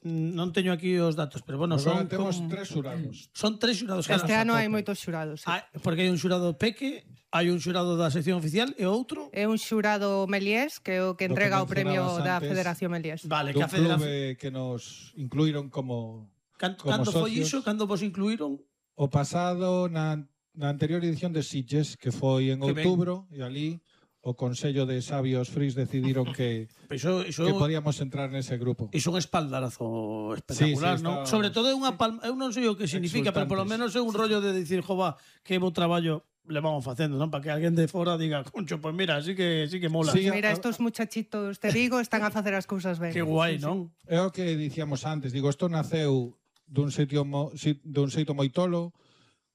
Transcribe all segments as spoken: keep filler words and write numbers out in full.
non teño aquí os datos, pero bueno, Agora son temos con... tres xurados. Son tres xurados. Este ano hai moitos xurados. Sí. Ah, porque hai un xurado peque, hai un xurado da sección oficial e outro... É un xurado Meliés, que é o que entrega o premio da Federación Meliés. Vale, que a a Federación... clube que nos incluíron como, Can, como cando foi socios. iso? Cando vos incluíron? O pasado, na, na anterior edición de Sitges, que foi en Que outubro, e ali o Consello de Sabios Fris decidiron que, Iso, iso, que podíamos entrar nese grupo. iso é un espaldarazo espectacular, Sí, sí, non? está- Sobre todo é unha palma, eu non sei o que significa, pero polo menos é un rollo de dicir, jova, que bo traballo le vamos facendo, non? Para que alguén de fora diga, concho, pues mira, sí que sí que mola. Sí, Mira, a- estos muchachitos de Vigo están a facer as cousas ben. Que guai, Sí, sí. non? É o que dicíamos antes, digo, isto naceu dun sitio mo, si, dun xeito moi tolo,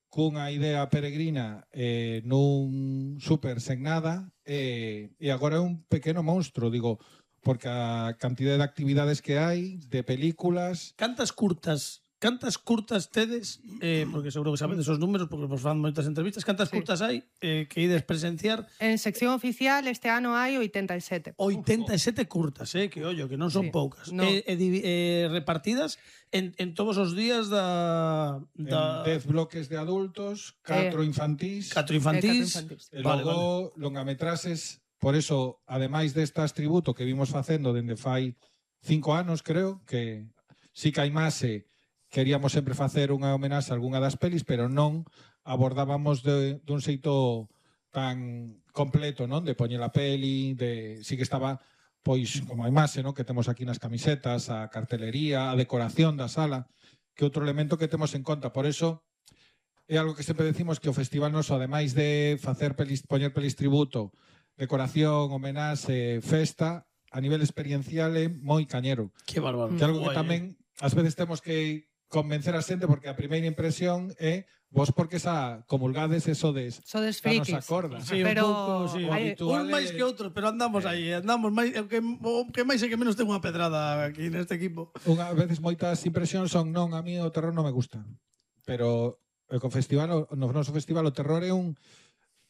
cunha idea peregrina eh, nun super sen nada eh, e agora é un pequeno monstro, digo, porque a cantidade de actividades que hai, de películas... Cantas curtas, cantas curtas tedes, eh, porque seguro que sabedes os números, porque vos fan moitas entrevistas, cantas Sí. curtas hai eh, que ides presenciar? En sección oficial este ano hai oitenta e sete. oitenta e sete curtas, eh, que ollo, que non son Sí. poucas. No. Eh, eh, divi- eh, repartidas en, en todos os días da... da En dez bloques de adultos, catro Eh, infantís, catro Eh, catro infantís. infantís. e Vale, logo longametraxes. Por eso, ademais destas tributo que vimos facendo dende fai cinco anos, creo, que si que hai máse, queríamos sempre facer unha homenaxe a algunha das pelis, pero non abordábamos de, dun xeito tan completo, non? De poñer a peli, de si que estaba pois como a imaxe, non? Que temos aquí nas camisetas, a cartelería, a decoración da sala, que outro elemento que temos en conta. Por eso é algo que sempre decimos que o festival noso, ademais de facer pelis, poñer pelis tributo, decoración, homenaxe, festa, a nivel experiencial é moi cañero. Que bárbaro. Que é algo que Guai, eh. tamén ás veces temos que convencer a xente porque a primeira impresión é vos porque xa comulgades eso de Sodes xa nos frikis. acorda. Sí, Pero un pouco, sí. o hai- habitual Un máis é- que outros, pero andamos aí, andamos máis, o que, o que máis é que menos ten unha pedrada aquí neste equipo. Unha veces moitas impresións son non, a mí o terror non me gusta. Pero o co festival, o- no noso festival o terror é un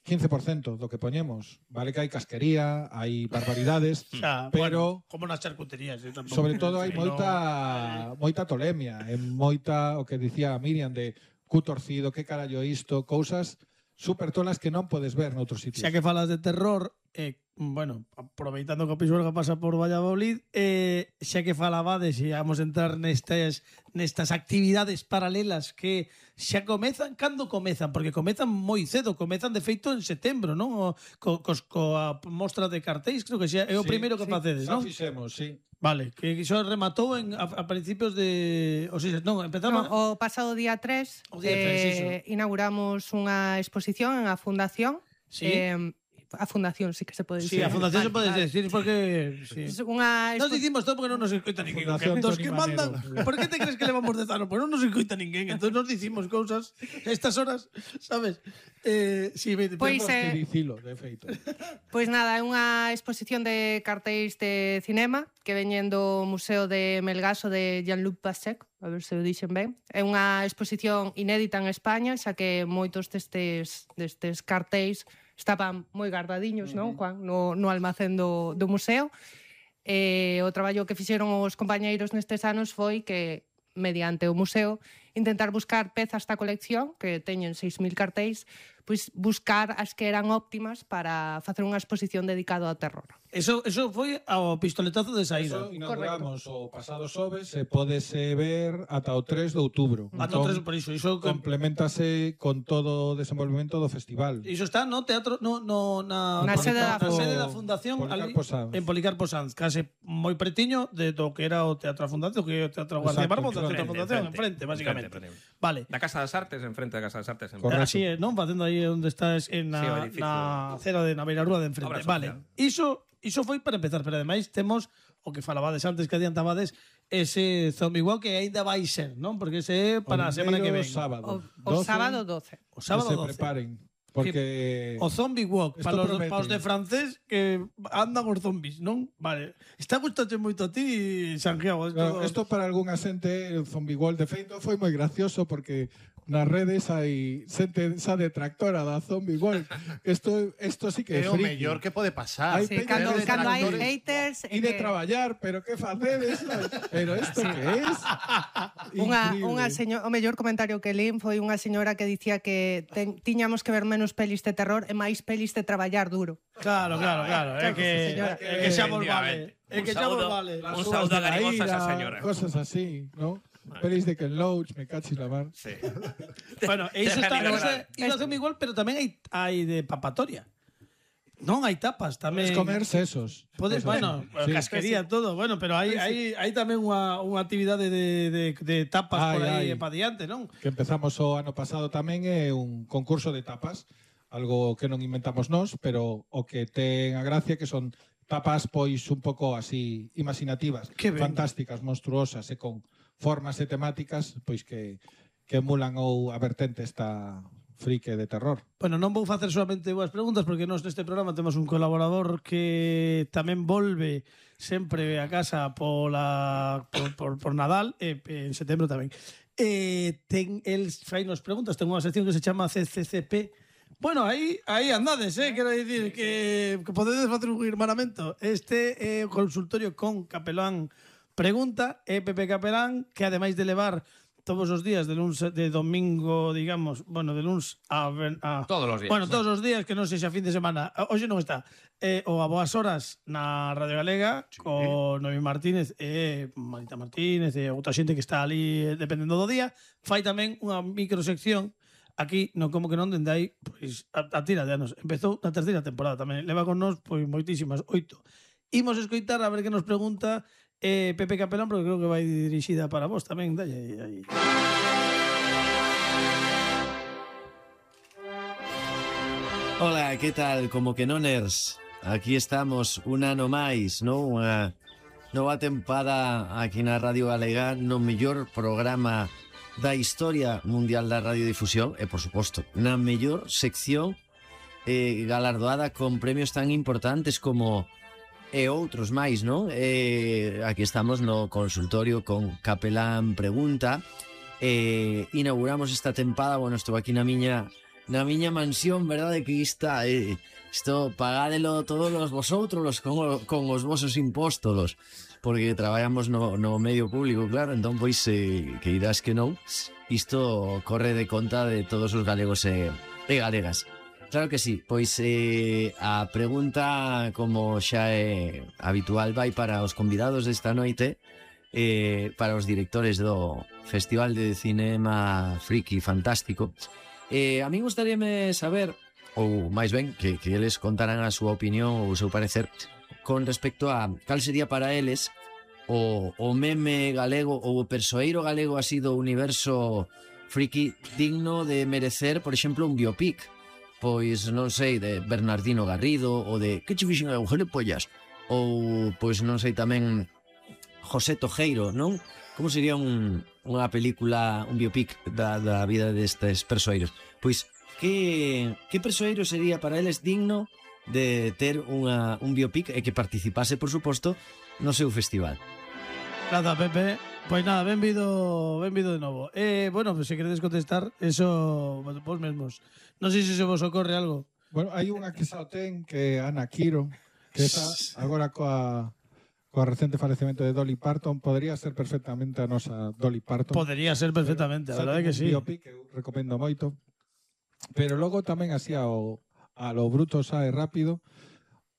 quince por cento do que poñemos. Vale que hai casquería, hai barbaridades, Xa, pero bueno, como nas charcuterías, eh, tampouco. sobre todo Sí, hai no. moita moita tolemia, e moita o que dicía Miriam de cu torcido, que carallo é isto, cousas super tolas que non podes ver noutros sitios. Xa que falas de terror, eh, bueno, aproveitando que o Pisuerga pasa por Valladolid, eh, xa que falabades e vamos a entrar nestas, nestas actividades paralelas que xa comezan, cando comezan? Porque comezan moi cedo, comezan de feito en setembro, non? O, co, cos, coa mostra de cartéis, creo que xa é o Sí, primeiro que sí. facedes, Xa non? fixemos, sí. Vale, que iso rematou en, a, a principios de... O sea, non, empezamos... No, o pasado día tres, O día tres, eh, inauguramos unha exposición en a Fundación. Sí. Eh, a Fundación, sí que se pode Sí, dicir. a fundación se Vale, pode vale. decir porque... Sí. Es unha Nos expo- dicimos todo porque non nos escoita ninguén. Fundación Dos Toni que Manero. mandan, por que te crees que levamos dez anos? Pues non nos escoita ninguén. Entón nos dicimos cousas a estas horas, sabes? Eh, sí, ve, Pois, Temos que eh, dicilo, de feito. Pois nada, é unha exposición de cartéis de cinema que veñen do Museo de Melgaso de Jean-Luc Pastec, a ver se o dixen ben. É unha exposición inédita en España, xa que moitos destes, destes cartéis estaban moi guardadiños, non, Juan, no, no almacén do, do museo. E o traballo que fixeron os compañeiros nestes anos foi que, mediante o museo, intentar buscar pezas da colección, que teñen seis mil cartéis, pois buscar as que eran óptimas para facer unha exposición dedicada ao terror. Eso, eso foi ao pistoletazo de saída. Eso inauguramos o pasado xoves e pódese ver ata o tres de outubro. Ata o Entón, tres, por iso. Iso, complementase con todo o desenvolvemento do festival. iso está no teatro, no, no, na, Na sede da na Fundación. sede da Fundación Policarpo ali, Sanz. en Policarpo Sanz, case moi pretiño de do que era o Teatro da Fundación, que é o Teatro Guardia Exacto, Barbosa, o Teatro da enfrente, Fundación, enfrente, enfrente, básicamente. enfrente, enfrente. Vale. Da Casa das Artes, enfrente da Casa das Artes. En Correcto. Así é, non? Facendo aí onde estás en na, Sí, o edificio. na acera de na beirarúa de enfrente. Obra Vale. social. Iso iso foi para empezar, pero ademais temos o que falabades antes que adiantabades ese Zombie Walk que aínda vai ser, non? Porque ese é para a semana que ven. O sábado. O, o doce, sábado doce. O sábado que se doce. preparen. Porque O Zombie Walk, Esto para os, promete. para os de francés que andan os zombies, non? Vale. Está gustache moito a ti, Santiago. Esto, claro, esto para algunha xente, el Zombie World de feito foi moi gracioso porque nas redes hai xente esa detractora da Zombie World. Esto, esto sí que é É o friki. mellor que pode pasar. Hai Sí, peña cando, de cando hai detractores. haters... E de traballar, pero que facedes? Pero isto que es? Unha, Increíble. unha señor, o mellor comentario que lín foi unha señora que dicía que ten, tiñamos que ver menos pelis de terror e máis pelis de traballar duro. Claro, claro, claro. É que, señora. é que xa vos vale. É que xa vos saúdo, vale. un Las saúdo uvas de la agarigosa a esa ira, señora. Cosas así, ¿no? Pelis de Ken Loach, me cachis la mar. Sí. Bueno, e iso está, Déjame iso, grabar. iso hacemos igual, pero tamén hai, hai de papatoria. Non, hai tapas tamén. Podes comer sesos. Podes, Cosas bueno, así. Sí. casquería, todo. Bueno, pero hai, hai, hai tamén unha, unha actividade de, de, de tapas Ai, por aí ai. para diante, non? Que empezamos o ano pasado tamén é un concurso de tapas, algo que non inventamos nós, pero o que ten a gracia que son tapas pois un pouco así imaginativas, Que ben. fantásticas, monstruosas e con formas e temáticas pois que que emulan ou a vertente esta frique de terror. Bueno, non vou facer solamente boas preguntas porque nós neste programa temos un colaborador que tamén volve sempre a casa pola, por, por, por Nadal e en setembro tamén. E ten el fainos preguntas, ten unha sección que se chama C C C P. Bueno, aí aí andades, eh, quero dicir que, que podedes facer un hermanamento. Este é o consultorio con Capelán Pregunta, é Pepe Capelán, que ademais de levar todos os días de luns de domingo, digamos, bueno, de luns a, a Todos os días. Bueno, todos os días que non sexa fin de semana. Hoxe non está. Eh, o a boas horas na Radio Galega sí. con Noemi Martínez e Marita Martínez e outra xente que está ali eh, dependendo do día. Fai tamén unha microsección aquí, non como que non, dende aí, pois, a, a tira de anos. Empezou na terceira temporada tamén. Leva con nós, pois, moitísimas, oito. Imos escoitar a ver que nos pregunta eh, Pepe Capelán, porque creo que vai dirixida para vos tamén. Dalle aí. Hola, que tal? Como que noners? Aquí estamos un ano máis, non? Unha nova tempada aquí na Radio Galega, no mellor programa da historia mundial da radiodifusión e, por suposto, na mellor sección eh, galardoada con premios tan importantes como e outros máis, non? Eh, aquí estamos no consultorio con Capelán Pregunta. Eh, inauguramos esta tempada, bueno, estou aquí na miña na miña mansión, verdade, que está eh, isto pagádelo todos os vosotros los, con, con os vosos impostos, porque traballamos no, no medio público, claro, entón pois eh, que irás que non, isto corre de conta de todos os galegos e, e galegas. Claro que sí, pois eh, a pregunta, como xa é habitual, vai para os convidados desta noite, eh, para os directores do Festival de Cinema Friki Fantástico. Eh, a mí gustaríame saber, ou máis ben, que, que eles contaran a súa opinión ou o seu parecer con respecto a cal sería para eles o, o meme galego ou o persoeiro galego así do universo friki digno de merecer, por exemplo, un biopic. Pois, non sei, de Bernardino Garrido ou de que che fixen a Pollas, ou, pois, non sei, tamén José Tojeiro, non? Como sería un, unha película, un biopic da, da vida destes persoeiros? Pois, que, que persoeiro sería para eles digno de ter unha, un biopic e que participase, por suposto, no seu festival? Nada, Pepe. Pois nada, benvido, benvido de novo. Eh, bueno, pues, se queredes contestar, eso, bueno, vos mesmos. Non sei se se vos ocorre algo. Bueno, hai unha que xa o ten, que é Ana Quiro, que esa, agora coa, coa recente falecemento de Dolly Parton, podría ser perfectamente a nosa Dolly Parton. Podría ser perfectamente, a verdade que sí. Biopic, que eu recomendo moito. Pero logo tamén así ao, a lo bruto xa e rápido,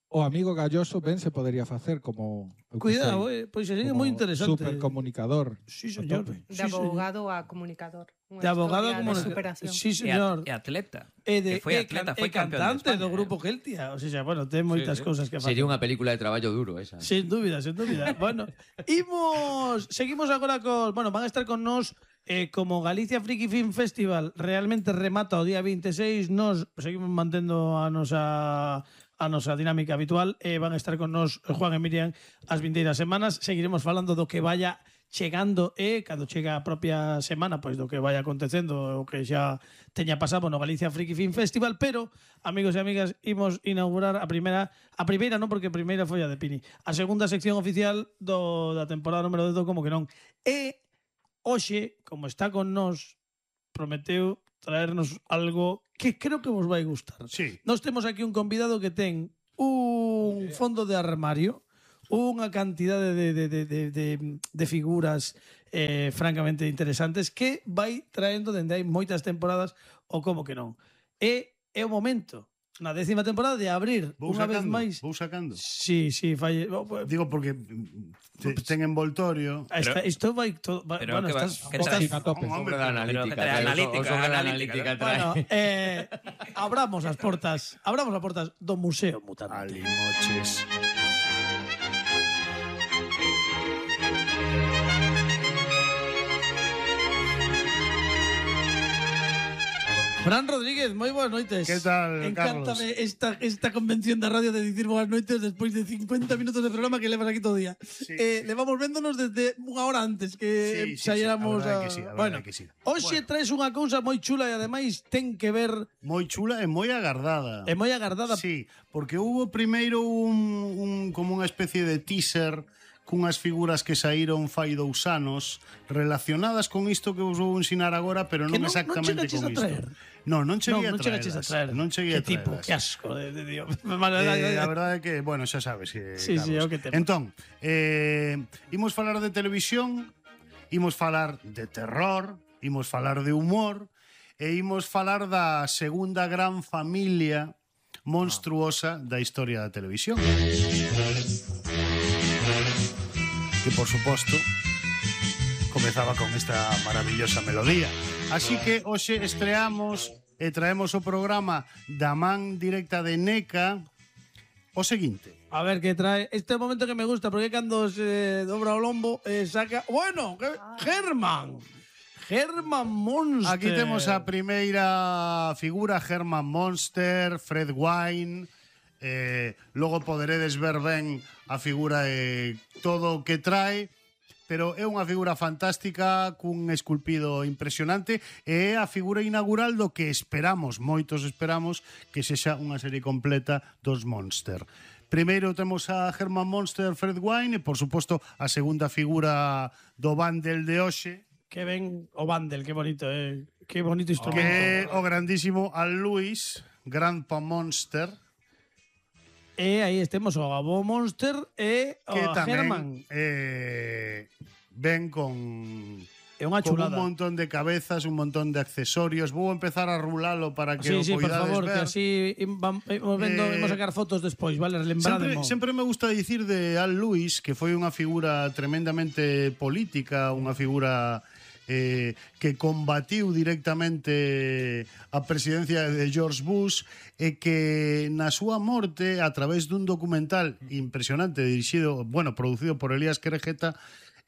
o amigo Galloso ben se podería facer como... Cuidado, eh, pois sería moi interesante. Supercomunicador. Sí, señor. De Sí, abogado a comunicador. Unha De abogado a historia de comunicador. superación. Sí, E, señor. a, e atleta. E de que foi e atleta, can- foi e campeón cantante de España, do grupo eh. Geltia. O sea, bueno, ten moitas sí. cousas que facer. Sería unha película de traballo duro esa. Sin dúbida, sin dúbida. Bueno, imos, seguimos agora con, bueno, van a estar con nos eh, como Galicia Friki Film Festival realmente remata o día veintiséis, nos seguimos mantendo a nosa a nosa dinámica habitual e eh, van a estar con nos Juan e Miriam as vindeiras semanas. Seguiremos falando do que vaya chegando e cando chega a propia semana, pois do que vaya acontecendo o que xa teña pasado no Galicia Friki Film Festival, pero amigos e amigas, imos inaugurar a primeira, a primeira non, porque a primeira foi a de Pini, a segunda sección oficial do da temporada número dez do Como que non. E hoxe, como está con nós, prometeu traernos algo que creo que vos vai gustar. Sí. Nós temos aquí un convidado que ten un fondo de armario, unha cantidade de, de, de, de, de, de figuras eh, francamente interesantes que vai traendo dende hai moitas temporadas ou como que non. E é o momento na décima temporada de abrir Vou unha vez sacando, máis. vou sacando. Sí, sí, falle. Digo porque te, ten envoltorio. Esta, isto vai todo. Va, Pero bueno, que va- estás, que estás, a tope. Hombre, Sobre da pero- analítica. pero que trae trae, o- analítica, o sobre da analítica, analítica trae. bueno, eh, abramos as portas, abramos as portas do Museo Mutante. Alimoches. Fran Rodríguez, moi boas noites. Que tal, Encántame esta, esta convención da radio de dicir boas noites despois de cincuenta minutos de programa que levas aquí todo o día. Sí. Eh, levamos véndonos desde unha hora antes que Sí, sí, sí, saíramos a verdade a... que sí, a verdade bueno, que sí. hoxe traes unha cousa moi chula e ademais ten que ver Moi chula e moi agardada. é moi agardada. Sí, porque hubo primeiro un, un como unha especie de teaser cunhas figuras que saíron fai dous anos relacionadas con isto que vos vou ensinar agora, pero Que non non- non exactamente chegaches con a isto. traer? No, non cheguei non, non a chegaches a traelas. traer. Non cheguei que a tipo, traelas. que asco de, de Dios. Eh, a verdade é que, bueno, xa sabes que Sí, sí, Carlos. é o que temos. Entón, eh, imos falar de televisión, imos falar de terror, imos falar de humor e imos falar da segunda gran familia monstruosa da historia da televisión. Que, por suposto, comezaba con esta maravillosa melodía. Así que hoxe estreamos e traemos o programa da man directa de NECA o seguinte. A ver que trae. Este é o momento que me gusta porque cando se dobra o lombo eh, saca. Bueno, que... Germán. Germán Monster. Aquí temos a primeira figura, Herman Monster, Fred Wine. Eh, logo poderedes ver ben a figura e todo o que trae, pero é unha figura fantástica cun esculpido impresionante e é a figura inaugural do que esperamos, moitos esperamos, que sexa unha serie completa dos Monster. Primeiro temos a Herman Monster, Fred Wine e, por suposto, a segunda figura do bundle de hoxe, Que ven o bundle, que bonito, eh. Que bonito que instrumento. é o grandísimo Al Lewis, Grandpa Monster, E aí estemos o Gabo Monster e o que Germán. tamén eh, ven con, É unha con un chulada. montón de cabezas, un montón de accesorios. Vou empezar a rulalo para Sí, que o sí, por poidades favor, ver. que así imos vendo, Eh, imos sacar fotos despois, vale? Sempre, Lembrademo. sempre me gusta dicir de Al Lewis que foi unha figura tremendamente política, unha figura eh, que combatiu directamente a presidencia de George Bush e que na súa morte, a través dun documental impresionante dirixido, bueno, producido por Elías Querejeta,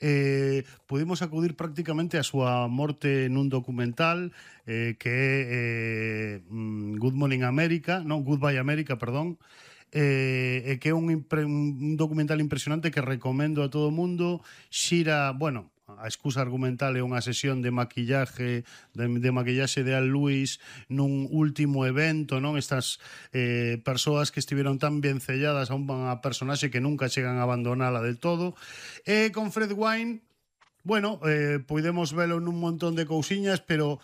eh, pudimos acudir prácticamente a súa morte nun documental eh, que é eh, mm, Good Morning America, non, Goodbye America, perdón, eh, e que é un, impre, un documental impresionante que recomendo a todo o mundo. Xira, bueno, a excusa argumental é unha sesión de maquillaje de, de maquillaxe de Al Lewis nun último evento, non? Estas eh, persoas que estiveron tan ben selladas a unha personaxe que nunca chegan a abandonala del todo. E con Fred Wine, bueno, eh, podemos velo nun montón de cousiñas, pero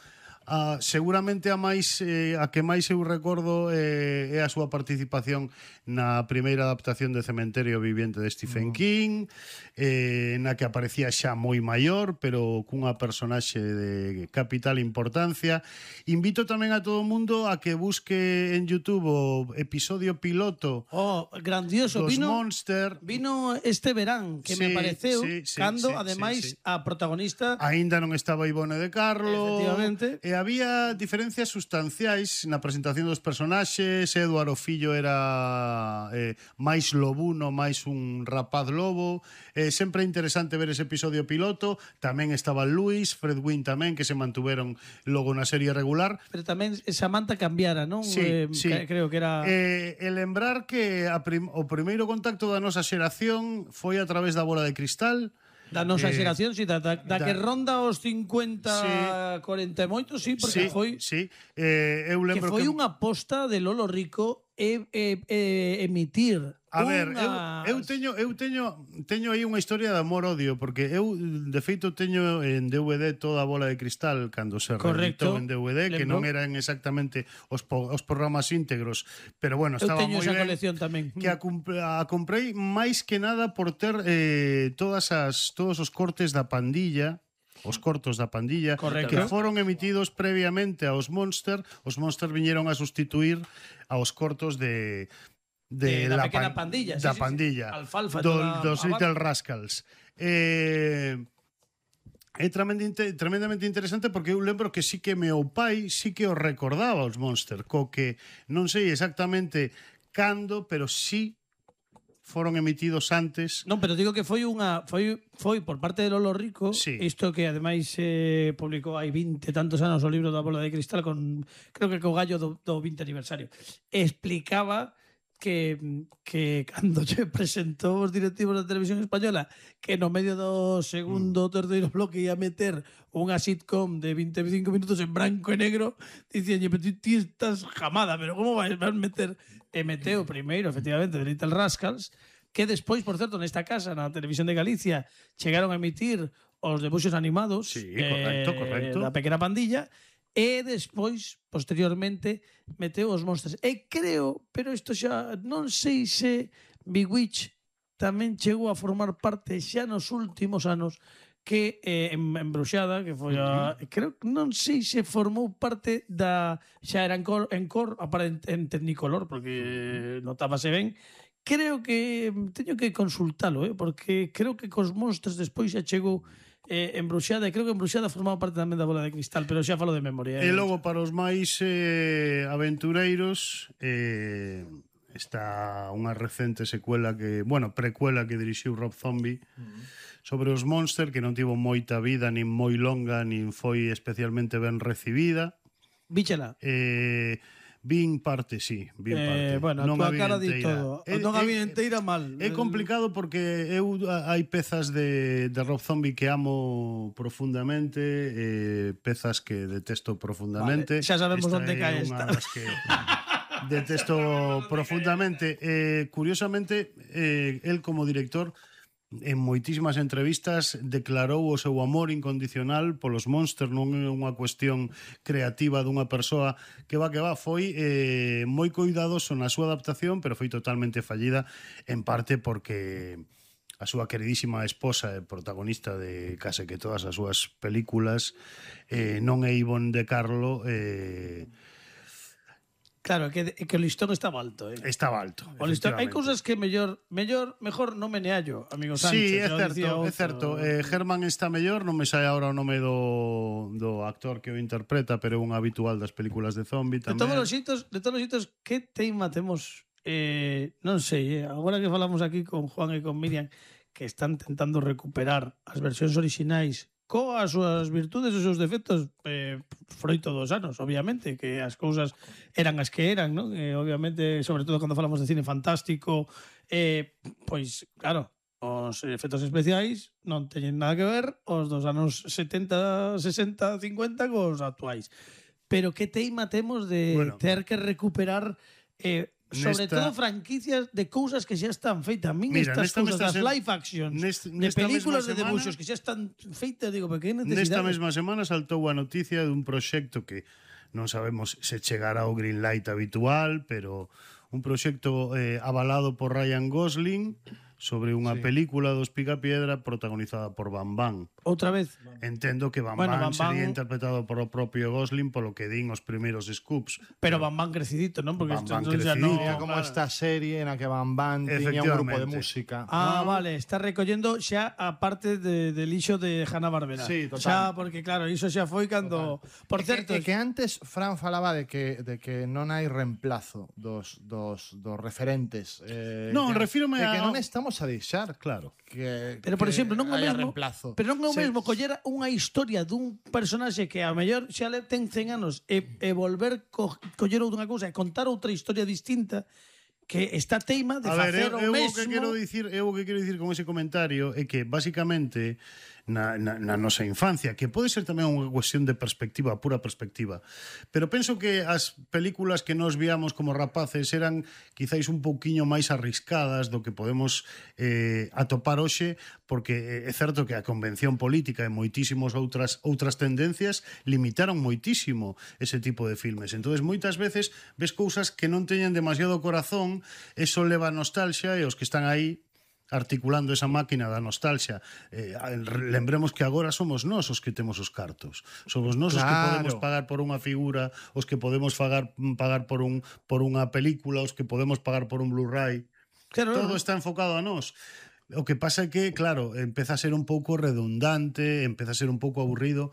ah, seguramente a máis eh, a que máis eu recordo eh, é a súa participación na primeira adaptación de Cementerio Viviente de Stephen King, eh, na que aparecía xa moi maior, pero cunha personaxe de capital importancia. Invito tamén a todo o mundo a que busque en YouTube o episodio piloto Oh, grandioso. dos Vino, Monster. vino este verán, que me Sí, pareceu, sí, sí, cando, sí, ademais, sí, sí. a protagonista... Aínda non estaba Ivone de Carlo. Efectivamente. E había diferencias sustanciais na presentación dos personaxes. Eduardo Fillo era eh, máis lobuno, máis un rapaz lobo. Eh, sempre é interesante ver ese episodio piloto. Tamén estaba Luis, Fred Wynn tamén, que se mantuveron logo na serie regular. Pero tamén Samantha cambiara, non? Sí, Eh, sí. que- Creo que era... Eh, e lembrar que a prim o primeiro contacto da nosa xeración foi a través da bola de cristal. Da nosa eh, xeración, si, da, da, da, da- que ronda os cincuenta, Sí. cuarenta e moito, sí, porque Sí, foi... sí. Eh, eu Que lembro foi que unha aposta de Lolo Rico e, e, e emitir A ver, unhas... eu, eu teño eu teño teño aí unha historia de amor-odio porque eu de feito teño en D V D toda a Bola de Cristal cando se reeditou Correcto. en D V D, que Lembro. non eran exactamente os, po, os programas íntegros, pero bueno, Eu estaba teño moi esa ben. colección tamén. Que a, cumpl- a comprei máis que nada por ter eh, todas as todos os cortes da pandilla, os cortos da pandilla, Correcto. que foron emitidos previamente aos Monster. Os Monster viñeron a sustituir aos cortos de De de, la la pequena pan- pandilla, sí, da sí, sí. pandilla, Alfalfa, do, toda dos a Little banda. Rascals. Eh, é tremendamente, tremendamente interesante porque eu lembro que sí que meu pai sí que o recordaba os Monster, co que non sei exactamente cando, pero sí foron emitidos antes. Non, pero digo que foi unha foi foi por parte de Lolo Rico, Sí. isto que ademais eh, publicou hai vinte tantos anos o libro da Bola de Cristal con creo que co gallo do, do vinte aniversario. Explicaba que que cando lle presentou os directivos da Televisión Española que no medio do segundo ou terceiro bloque ia meter unha sitcom de vinte e cinco minutos en branco e negro, dicíanlle, pero ti, ti estás jamada, pero como vais a meter? E meteu primeiro, efectivamente, de Little Rascals, que despois, por certo, nesta casa, na Televisión de Galicia, chegaron a emitir os debuxos animados Sí, correcto, eh, correcto. da Pequena Pandilla, e despois, posteriormente, meteu os Monsters. E creo, pero isto xa non sei se Bewitch tamén chegou a formar parte xa nos últimos anos que eh, en, en Bruxada, que foi a... Creo que non sei se formou parte da... Xa era en cor, en, cor aparente, en Technicolor, porque notábase ben. Creo que teño que consultalo, eh, porque creo que cos Monsters despois xa chegou eh, en Bruxada, e creo que en Bruxada formaba parte tamén da Bola de Cristal, pero xa falo de memoria. E Eh. logo para os máis eh, aventureiros eh, está unha recente secuela que, bueno, precuela que dirixiu Rob Zombie sobre os Monster, que non tivo moita vida, nin moi longa, nin foi especialmente ben recibida. Víchela. Eh, vin parte, sí, vin Eh, parte. bueno, a Non túa a vi cara di enteira. todo. É- Non a é- vi enteira mal. É complicado porque eu a- hai pezas de, de Rob Zombie que amo profundamente, eh, pezas que detesto profundamente. Vale, xa sabemos Esta onde é cae unha esta. das que detesto profundamente. Eh, curiosamente, eh, el como director en moitísimas entrevistas declarou o seu amor incondicional polos Monster, non é unha cuestión creativa dunha persoa que va que va, foi eh, moi cuidadoso na súa adaptación, pero foi totalmente fallida, en parte porque a súa queridísima esposa e protagonista de case que todas as súas películas eh, non é Ivonne de Carlo, eh, Claro, que, que o listón estaba alto. Eh. estaba alto. O listón, hai efectivamente. cousas que mellor, mellor, mejor non meneallo, amigo Sancho. Sí, é xa o certo, dicía é outro. certo. Eh, Germán está mellor, non me sai agora o nome do, do actor que o interpreta, pero é un habitual das películas de zombie De tamén. todos os xitos, de todos os xitos, que teima temos, eh, non sei, eh, agora que falamos aquí con Juan e con Miriam, que están tentando recuperar as versións orixinais coas súas virtudes e os seus defectos, eh, froito dos anos, obviamente, que as cousas eran as que eran, non? Eh, obviamente, sobre todo cando falamos de cine fantástico, eh, pois, claro, os efectos especiais non teñen nada que ver os dos anos setenta, sesenta, cincuenta cos actuais. Pero que teima temos de Bueno, ter que recuperar eh, sobre nesta- todo franquicias de cousas que xa están feitas. A min Mira, estas nesta cousas mesma das se- live actions, nest- de nesta películas mesma de semana- debuxos que xa están feitas, digo, pero que Nesta necesidade? mesma semana saltou a noticia dun proxecto que non sabemos se chegará ao green light habitual, pero un proxecto eh, avalado por Ryan Gosling sobre unha Sí. película dos Picapiedra protagonizada por Bam Bam. Outra vez. Entendo que Bam Bueno, Bam Bam Bam- sería interpretado por o propio Gosling polo que din os primeiros scoops. Pero Van Van crecidito, non? Porque Van isto Van entón xa crecidito. non- Sería como claro. esta serie na que Van Van tiña un grupo de Efectivamente. música. Ah, No. vale, está recollendo xa a parte de, de lixo de Hanna-Barbera. Sí, total. Xa, porque claro, iso xa foi cando... Por É que- certo, é que antes Fran falaba de que de que non hai reemplazo dos dos dos referentes. Eh, Non, que, refírome de que a- non estamos a deixar Claro. que Pero, por que exemplo, non é o haya mesmo- reemplazo. pero non é o Se- mesmo coller unha historia dun personaxe que a mellor xa le ten cen anos e, e volver co, coller outra cousa e contar outra historia distinta que está teima de A ver, facer eu, o eu o mesmo. que quero dicir, eu o que quero dicir con ese comentario é que basicamente na, na, na nosa infancia, que pode ser tamén unha cuestión de perspectiva, pura perspectiva. Pero penso que as películas que nos víamos como rapaces eran quizáis un pouquiño máis arriscadas do que podemos eh, atopar hoxe, porque é certo que a convención política e moitísimos outras outras tendencias limitaron moitísimo ese tipo de filmes. Entonces moitas veces ves cousas que non teñen demasiado corazón, eso leva a nostalgia e os que están aí articulando esa máquina da nostalgia. Eh, lembremos que agora somos nós os que temos os cartos. Somos nós os Claro. que podemos pagar por unha figura, os que podemos pagar, pagar por, un, por unha película, os que podemos pagar por un Blu-ray. Claro, Todo está enfocado a nós. O que pasa é que, claro, empeza a ser un pouco redundante, empeza a ser un pouco aburrido,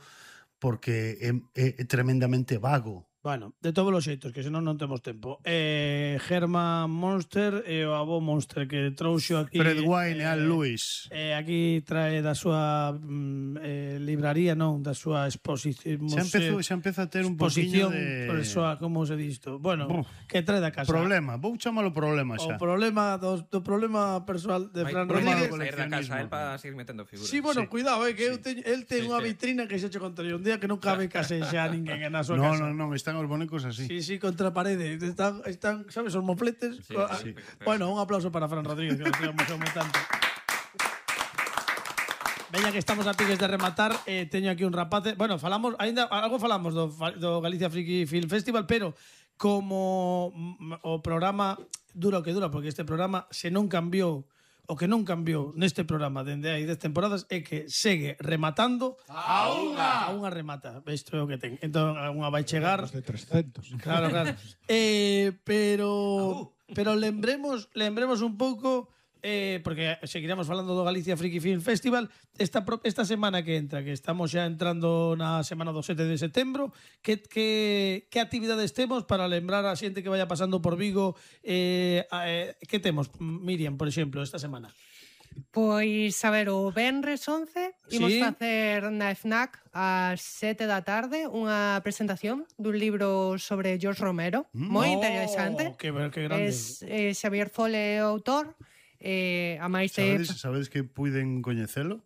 porque é, é, é tremendamente vago. Bueno, de todos os xeitos, que senón non temos tempo. Eh, Herman Monster e o avó Monster que trouxo aquí... Fred Wine e eh, Al Lewis. Eh, aquí trae da súa mm, eh, libraría, non, da súa exposición. Xa empezou, xa empeza a ter un poquinho exposición, de... por eso, como se disto? Bueno, Buf. que trae da casa. Problema, vou chamalo problema O xa. problema do, do problema persoal de Fran problema Rodríguez. do sair da casa coleccionismo. él para seguir metendo figuras. Sí, bueno, Sí. cuidado, eh, que eu teño, el ten Sí, unha sí. vitrina que xa che contaré un día que non cabe case xa ninguén na súa No, casa. no, non, están os bonecos así. Sí, sí, contra a parede. Están, están, sabes, os mofletes. Sí, Ah, sí. Bueno, un aplauso para Fran Rodríguez, que nos tiramos un tanto. Veña que estamos a piques de rematar, eh, teño aquí un rapace. Bueno, falamos, ainda algo falamos do, do Galicia Friki Film Festival, pero como mm, o programa dura o que dura, porque este programa se non cambiou, o que non cambiou neste programa dende hai dez temporadas é que segue rematando a unha, a unha remata. Isto é o que ten. Entón, a unha vai chegar. Más de trescentos. Claro, claro. eh, pero pero lembremos, lembremos un pouco eh, porque seguiremos falando do Galicia Friki Film Festival esta, pro- esta semana que entra, que estamos xa entrando na semana do sete de setembro, que, que, que actividades temos para lembrar a xente que vaya pasando por Vigo, eh, a, eh, que temos, Miriam, por exemplo, esta semana? Pois, a ver, o Benres once imos Sí. facer na FNAC ás sete da tarde unha presentación dun libro sobre George Romero, moi Oh, interesante. que, que grande. Es, eh, Xavier Fole é o autor, eh, a máis de... Sabedes, sabedes que puiden coñecelo?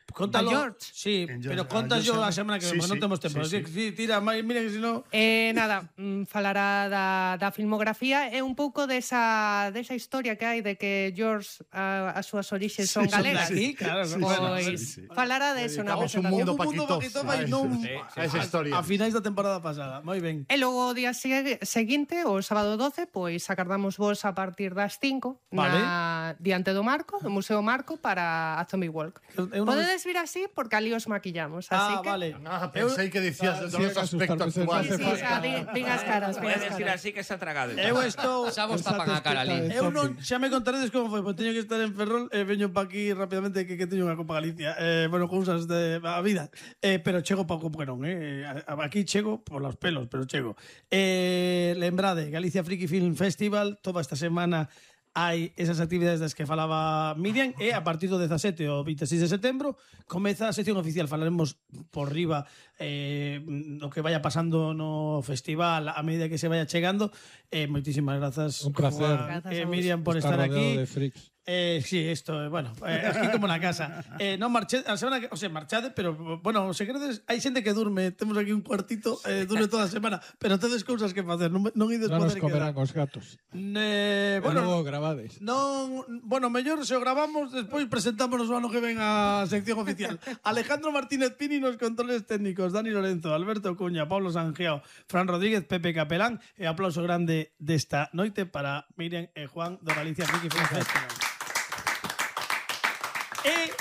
Contalo. A George. Sí, En pero George- contas a yo George- a semana que sí, ven, porque non sí, temos tempo. sí, Así que, sí, tira, máis, mira que si no... Eh, nada, mm, falará da, da filmografía e un pouco desa, desa historia que hai de que George a, as súas orixes son Sí, son de galegas. aquí, claro, Pois, bueno, sí, sí. falara de eso na Dedicamos un presentación. mundo Houve un mundo paquitoso. paquitoso, vai, non Sí, sí, a esa a, historia. a finais da temporada pasada. Moi ben. E logo o día segue- seguinte, o sábado doce, pois acardamos vos a partir das cinco Vale. na, diante do Marco, do Museo Marco, para a Zombie Walk. Eu non- Podedes vir así porque ali os maquillamos, así Ah, que... vale. Ah, pensei que dicías Ah, do sí, noso aspecto asustar, actual. Sí, sí, xa, di, din as caras, din as Puedes decir caras. así que se ha tragado. Eu estou... Xa vos tapan a cara ali. Eu non, xa me contaredes como foi, pois teño que estar en Ferrol e veño pa aquí rapidamente que, que teño unha Copa Galicia. Eh, bueno, cousas de a vida. Eh, pero chego pa como que non, eh. A- Aquí chego por los pelos, pero chego. Eh, lembrade, Galicia Friki Film Festival, toda esta semana hai esas actividades das que falaba Miriam e a partir do dezasete ao veintiséis de setembro comeza a sección oficial. Falaremos por riba eh, o que vaya pasando no festival a medida que se vaya chegando. Eh, moitísimas grazas, Un placer. Juan, Grazas eh, a vos. Miriam, por Está estar rodeado aquí. de freaks. Eh, sí, esto, eh, bueno, eh, aquí como na casa. Eh, non marché, a semana que, o sea, marchade, pero bueno, se queredes, hai xente que durme, temos aquí un cuartito, eh, durme toda a semana, pero tedes cousas que facer, non, non ides Non nos poder comerán quedar. os gatos. Eh, Bueno, bueno, logo gravades. non, bueno, mellor se o gravamos, despois presentámonos o ano que ven a sección oficial. Alejandro Martínez Pini nos controles técnicos, Dani Lorenzo, Alberto Cuña, Pablo Sangiao, Fran Rodríguez, Pepe Capelán e aplauso grande desta noite para Miriam e Juan do Galicia Friki Film Festival. E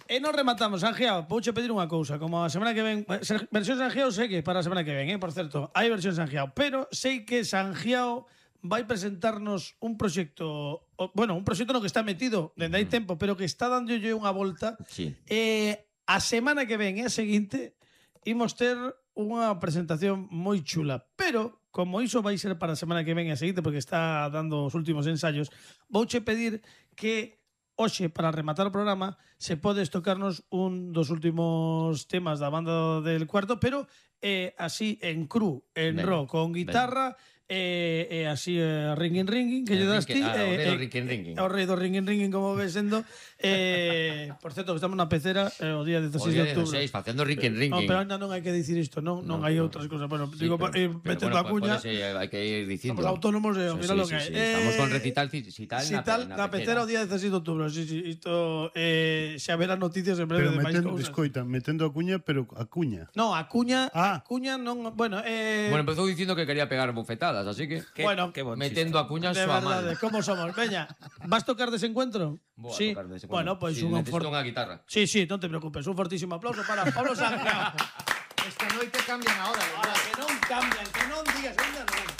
E non rematamos, Sangiao, vouche pedir unha cousa. Como a semana que ven... Versión Sangiao segue para a semana que ven, eh? Por certo, hai versión Sangiao. Pero sei que Sangiao vai presentarnos un proxecto... Bueno, un proxecto no que está metido dende hai tempo, pero que está dándolle unha volta. Sí. E a semana que ven e a seguinte imos ter unha presentación moi chula. Pero, como iso vai ser para a semana que ven e a seguinte, porque está dando os últimos ensayos, vouche pedir que hoxe, para rematar o programa, se podes tocarnos un dos últimos temas da banda del cuarto, pero eh, así en cru, en Ben, ro, con guitarra, e, e así eh, ringing ringing que Eh, lle das ti rinque- ah, o rei do eh, rinquín rinquín. o rei do ringing ringing como ves sendo eh, por certo que estamos na pecera eh, o día O dieciséis día de outubro dieciséis, facendo rinquín no, rinquín. pero ainda non hai que dicir isto non non No, hai no. outras cosas bueno, Sí, digo pero- eh, pero metendo bueno, a cuña pode ser, hai que ir dicindo. somos autónomos e Sí, mira lo sí, que hai sí, Estamos con Eh, recital cital si tal, na pecera o día dieciséis de outubro sí, sí, isto eh, xa verá noticias en breve Pero de máis metendo, cousas escoita, metendo a cuña, pero a cuña. no, a cuña Ah. a cuña non bueno eh, Bueno, empezou dicindo que quería pegar bofetadas, así que Qué- Bueno, qué bon metendo a cuña de súa verdade, mal. como somos veña, vas tocar desencuentro? Vou a sí. tocar dese Bueno, cuando. pois Sí, un necesito for... unha guitarra. Sí, sí, non te preocupes, un fortísimo aplauso para Pablo Sangrao. Esta noite cambian a hora, Ahora, que non cambian, que non digas, ainda non.